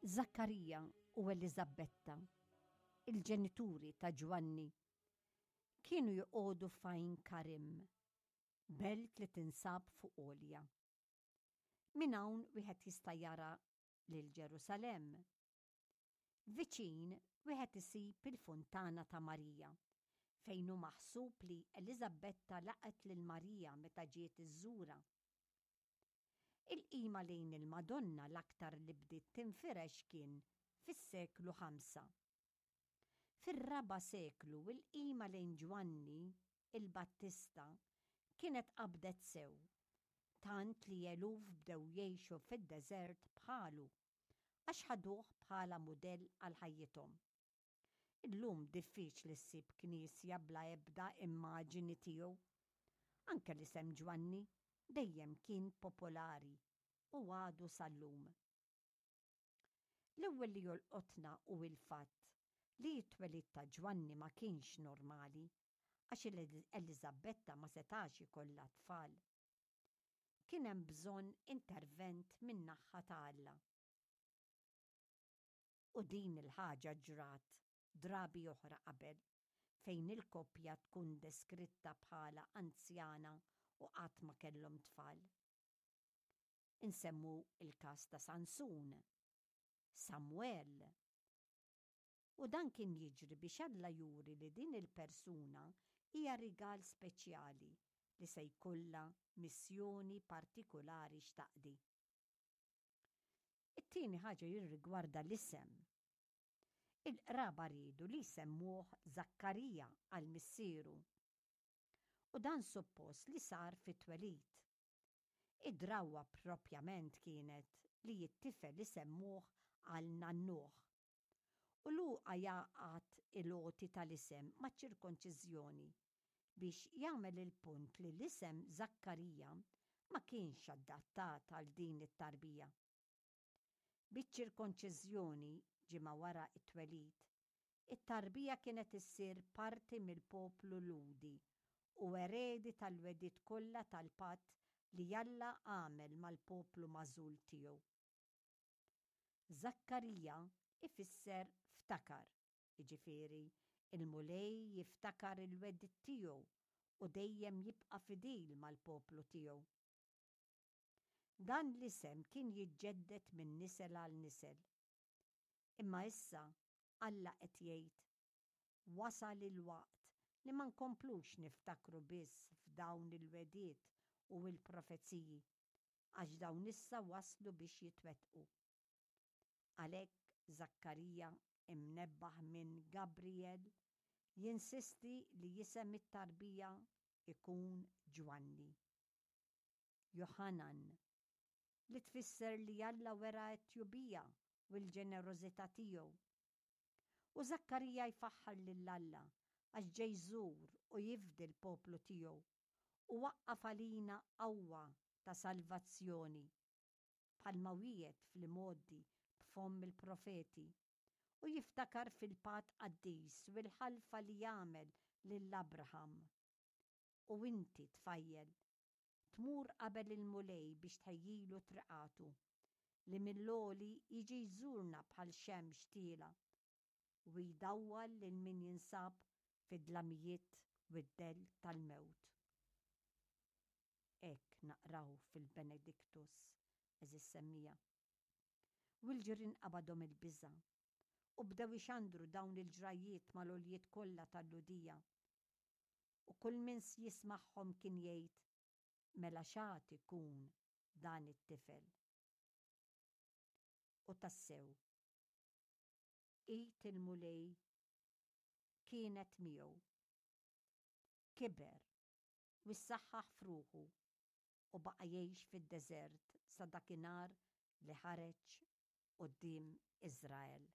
Żakkarija u Eliżabetta, il-ġenituri ta' Ġwanni, kienu joqogħdu f'Għajn Karim, belt li tinsab fuq għolja. Minn hawn wieħed jista' jara lil Ġerusalemm. Viċin wieħed isib il-Funtana ta' Marija, fejn hu maħsub li Eliżabetta laqgħet lil Marija meta ġiet iżżurha. Il-qima lejn il-Madonna l-aktar li bdiet tinfirex kien fis-seklu ħamsa. Fir-raba' seklu l-qima lejn Ġwanni l-Battista kienet qabdet sew, tant li eluf bdew jgħixu fid-deżert bħalu għax ħaduh bħala mudell għal ħajjithom. Illum diffiċli ssib knisja bla ebda immaġini tiegħu. Anke l-isem Ġwanni dejjem kien popolari u għadu sal-lum. L-ewwel li jolqotna hu l-fatt li t-twelid ta' Ġwanni ma kienx normali għax Eliżabetta ma setax ikollha tfal. Kien hemm bżonn intervent min-naħha ta' Alla. U din il-ħaġa ġrat drabi oħra qabel fejn il-koppja tkun deskritta bħala anzjana u qatt ma kellhom tfal. Insemmu l-każ ta' Sansun, Samwel. U dan kien jiġri biex Alla juri li din il-persuna hija rigal speċjali li se jkollha missjoni partikulari x'taqdi. It-tieni ħaġa jirrigwarda l-isem. Il-qraba riedu li jsemmuh Żakkarija għal missieru. U dan suppost li sar fit-twelid. Id-drawwa propjament kienet li t-tifel isemmuh għal nannuh. U Luqa jgħaqqad il-għoti tal-isem maċ-ċirkonċiżjoni biex jagħmel il-punt li l-isem Żakkarija ma kienx adattat għal din it-tarbija. Biċ-ċirkonċiżjoni, ġimgħa wara t-twelid, it-tarbija kienet issir parti mill-poplu Lhudi u eredi tal-wegħdiet kollha tal-patt li Alla għamel mal-poplu magħżul tiegħu. Żakkarija ifisser ftakar, jiġifieri l-Mulej jiftakar il-wegħdiet tiegħu u dejjem jibqa' fidil mal-poplu tiegħu. Dan l-isem kien jiġġedded minn nisel għal nisel. Imma issa Alla qed jgħid, Wasal il-waqt li ma nkomplux niftakru biss f'dawn il-wegħdiet u l-profeziji, għax dawn issa waslu biex jitwettqu. Għalhekk Żakkarija, imnebbaħ minn Gabrijel, jinsisti li isem it-tarbija jkun Ġwanni. Joħanan, li tfisser li Alla wera t-tjubija u l-ġenerożità tiegħu. U Żakkarija jfaħħar lil Alla għax ġej jżur u jifdi l-poplu tiegħu u waqqaf għalina qawwa ta' salvazzjoni, bħalma wiegħed fl-imgħoddi b'fomm il-profeti, u jiftakar fil-patt qaddis u l-ħalfa li għamel lil Abraham. U inti, tfajjel, tmur qabel il-Mulej biex tħejjilu triqatu, li mill-għoli jiġi jżurna bħal xemx tielgħa u jdawwal lil min jinsab fid-dlamijiet u d-dell tal-mewt. Hekk naqraw fil-Benedictus, għeżież semmiegħa. U l-ġirien qabadhom il-biża' u bdew ixandru dawn il-ġrajjiet mal-għoljiet kollha tal-Lhudija. U kull min jismagħhom kien jgħid, Mela x'għad ikun dan it-tifel? U tassew, id il-Mulej kienet miegħu. Kiber u ssaħħaħ f'ruħu u baqa' jgħix fid-deżert sa dakinhar li ħareġ quddiem Iżrael.